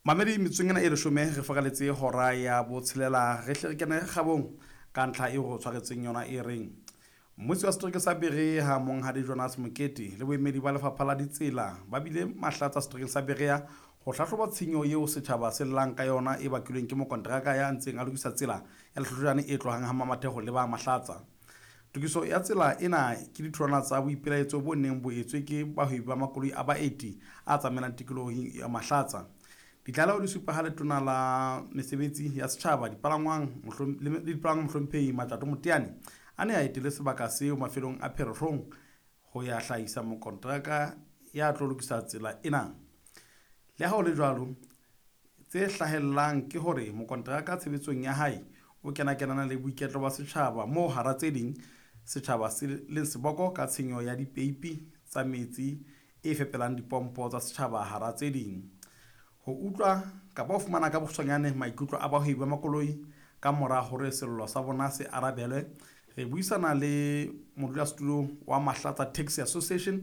Mamedi metsotsong ena e leshome re fokaletse hora ya botshelela, re hle re kene kgabong ka ntlha e go tshwaretseng yona e reng mmusi wa setereke sa Berea, Monghadi Jonas Mokete, le boemedi ba lefapha la ditsela ba bile Mahlatsa seterekeng sa Berea ho hlahloba tshenyo eo setjhaba se llang ka yona e bakilweng ke mokonteraka ya ntseng a lokisa tsela ya Lehlohlojane e tlohang ha Mamathego le ba Mahlatsa. Tokiso ya tsela ena ke ditholwana tsa boipelaetso bo neng bo etswe ke bahwebi ba makoloi a baeti a tsamaelang tikolohong ya Mahlatsa. Ditlaleho di supa ha letona la mesebetsi ya setjhaba, dipalangwang le dipalangwang, Mohlomphehi Matjato Moteane, a ne a etele sebaka seo mafelong a Pherehlong ho ya hlahisa mokonteraka ya tlo lokisa tsela ena. Le ha ho le jwalo, tse hlahellang ke hore mokonteraka tshebetsong ya hae o kena-kenana le boiketlo ba setjhaba moo hara tse ding setjhaba se leng seboko ka tshenyo ya dipeipi tsa metsi e fepelang dipompo tsa setjhaba hara tse ding. Ho utlwa kapa ho fumana ka bokgutshwanyane maikutlo a bahwebi ba makoloi ka mora hore sello sa bona se arabelwe, re buisana le modulasetulo wa Mahlatsa Taxi Association.